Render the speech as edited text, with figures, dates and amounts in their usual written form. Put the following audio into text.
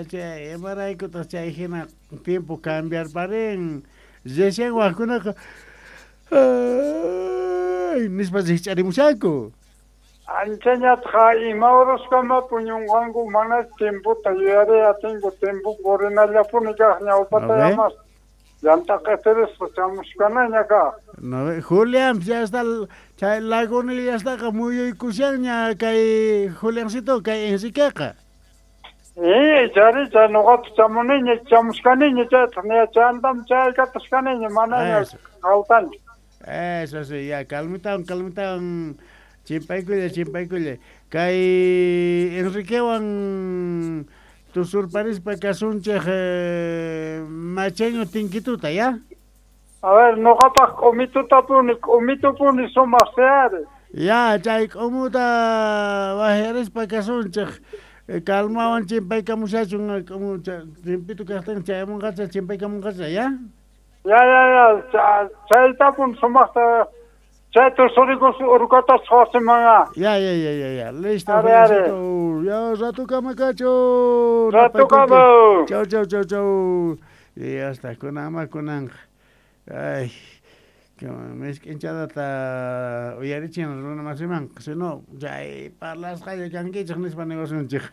Chay imaraykutaq chay hina tiempo cambiarparin recién wajkunaqa ay nispa rikch'arimushanku. Anchañataq ima horaskama puñunqanku mana tiempota yuyariy atinku tiempo purinallapuni kaq ñawpata llamas llant'a q'itirisqa chamushkanaña kaq. No ve, Julián ya está chay lagunillastaqa muyuykushanña kay Juliancito kay Enriqueqa. Chari chay nuqapas chamuniña chamushkaniña chaytaq chantam chaykatasqaniña manaña qawtanchu. Eso sí, ya calmitawan calmitawan chimpaykulla chimpaykulla. Kay Enriquewan tusurparispa kasunchik macheño tinkituta, ¿ya? A ver, nuqapaq k'umitutapuni k'umitupuni sumaq seari. Ya, chay k'umuta wajarispa kasunchik. Calmawan chimpaykamushachun k'umu timpito kaqtin chayamunqacha chimpaykamunqacha, ¿ya? Ya, ya, ya, chaytapun sumaqta chay tusurikus urquta wasiman. Ya, ya, ya, ya, ya. Listo, Are, are. Ya, ratukama kachu. Ratukama. Chau, chau, chau, chau. Y hasta kunama kunanqa. Ay, misk'inchadata uyarichin runa masimanqa, si no, chay parlasqalla kankichik nispa niwasunchik.